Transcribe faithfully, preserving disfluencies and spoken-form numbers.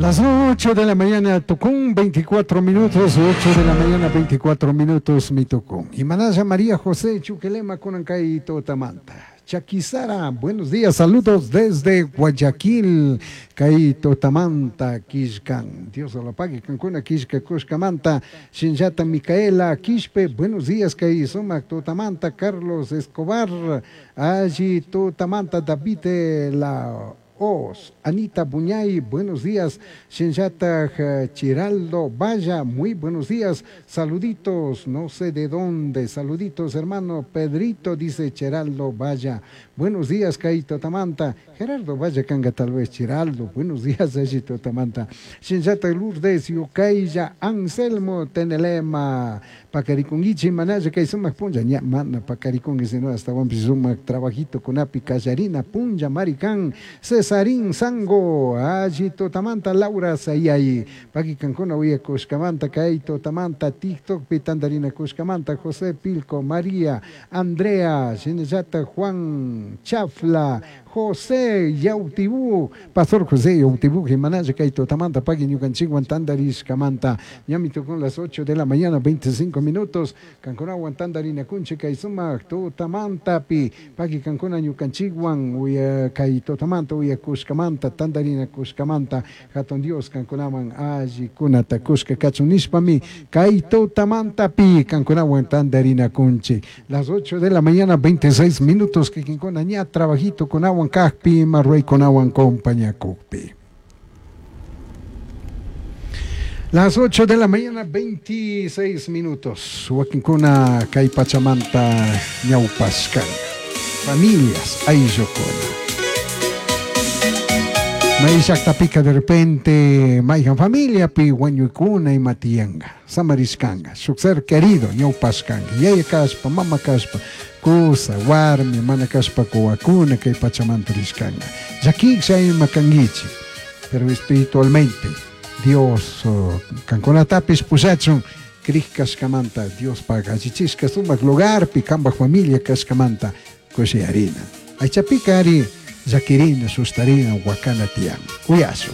Las ocho de la mañana, Tucum, veinticuatro minutos, ocho de la mañana, veinticuatro minutos, mi Tucum. Y Manaya María José Chuquelema Kunankay Totamanta. Chaquizara, buenos días, saludos desde Guayaquil, kay Totamanta, Quishcan. Dios lo pague, Cancuna, Quishca, Cuscamanta, Shinjata Micaela, Quishpe, buenos días, kay Sumac, Totamanta, Carlos Escobar, allí Totamanta, David La Os, Anita Buñay, buenos días, Shinjata Chiraldo Vaya, muy buenos días, saluditos, no sé de dónde, saluditos hermano Pedrito, dice Chiraldo Vaya, buenos días, Kaito Tamanta, Gerardo Vaya Canga, tal vez Chiraldo, buenos días, Ayito Tamanta, Shinjata Lourdes, Yukaya, Anselmo Tenelema, Pacariconguichi, Manaya, Kaisumac Punja, ña, mana, Pacariconguichi, sino hasta Wampi Sumac, trabajito con Api, Callarina, Punja, Maricán, Cesarín, Sango, Ayito Tamanta, Laura Sayay, Paqui Cancuna, Uya Cuscamanta, Kaito Tamanta, TikTok, Pitandarina Cuscamanta, José Pilco, María, Andrea, Shinejata, Juan Chafla, José Yautibú, Pastor José Yautibú, Jimanaya, Kaito Tamanta, Paqui Ñucanchiguan, Tandarish Camanta, Ñamito con las ocho de la mañana, veinticinco minutos, Cancuna, Tandarina Kunche, Kaisuma, Totamanta, Pi, Paqui Cancuna, Ñucanchiguan, Uya Kaito Tamanta, Uya Cuscamanta, Tandarina Cuscamanta, Hatun Dios, Cancunaman, Alli, Kunata, Cusca, Cachunishpami, Kaito Tamanta, Pi, Cancunawan, Tandarina Kunche. Las ocho de la mañana, veintiséis minutos, que Quincona, ña, trabajito con agua, Cajpi, Marruey con agua, compañía Cujpi. Las ocho de la mañana, veintiséis minutos. Huaquincuna, Caipachamanta, Ñaupascan. Familias, Ayllocona. Maishaktapica de repente, Maijan familia, pi huañuicuna y matianga, samariscanga, su ser querido, ñaupascanga, yaya caspa, mama caspa, kusa, warmi, mana caspa, coacuna, que pachamanta riscanga. Yaquixa y macanguichi, pero espiritualmente, Dios, oh, canconatapis pusachun, criscascamanta, Dios paga, chichisca, sumac lugar, picamba familia cascamanta, harina. Aychapica ari, Yakirina, sustarina, huacana tian. Cuyazo.